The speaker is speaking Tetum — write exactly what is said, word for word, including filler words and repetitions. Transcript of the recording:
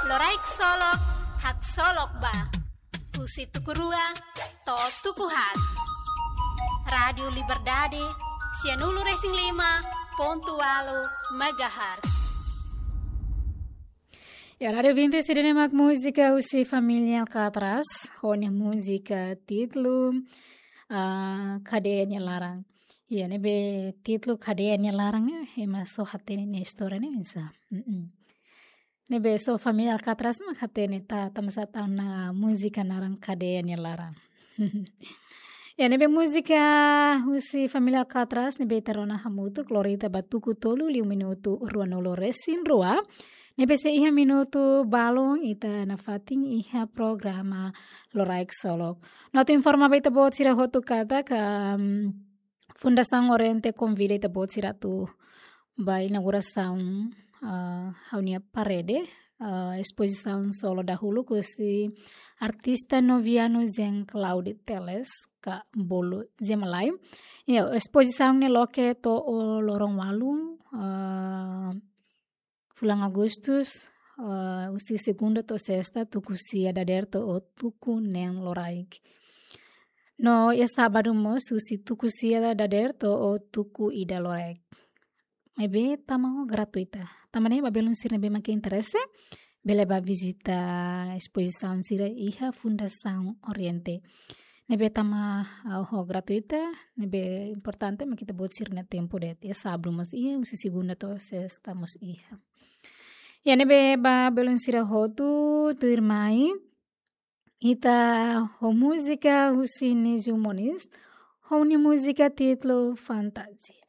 Loraik Solok, haksolok ba. Husi tuku rua to'o tuku haat. Rádiu Liberdade, sianulu-resin-lima pontu ualu megahertz. Ya, rádiu ouvinte, ida-ne'e mak múzika husi família Alcatraz, ho nia múzika títulu, ah, Kadeia nia Laran. Ya, ne'ebé títulu Kadeia nia Laran, eh, ema só hatene nia istória ne'e oinsá. Mm-mm. Ne'ebé só família Alcatraz mak hatene, tanba sá tan ona múzika naran Kadeia nia Laran. Ya, ne'ebé múzika husi família Alcatraz ne'ebé ita rona hamutuk, lori ita ba tuku tolu liu minutu ruanulu-resin-rua. Ne'ebé sei iha minutu balun ita nafatin iha programa Loraik Solok. No atu informa ba ita-boot sira hotu katak, mm, Fundasaun Oriente konvida ita-boot sira atu ba inaugurasaun, ah, ha'u-nia parede, ah, espozisaun solo dahuluk husi artista novianu Jean Claude Teles ka bolu Jean Malai. Ya, espozisaun ne'e loke to'o loron ualu, ah, fulan Agustus, ah, husi segunda to'o sesta, tuku sia dadeer to'o tuku neen loraik. No iha sábadu mós husi tuku sia dadeer to'o tuku ida loraik. Maibé tama ho gratuita. Tanba ne'e ba belun sira ne'ebé mak interese, bele ba vizita espozisaun sira iha Fundasaun Oriente. Ne'ebé tama, ah, ho gratuita, ne'ebé importante mak ita-boot sira-nia tempu de'it, iha sábadu mós iha, husi segunda to'o sesta mós iha. Ya, ne'ebé ba belun sira hotu, tuirmai ita ho múzika husi Nijo Moniz, ho nia múzika títulu Fantasia.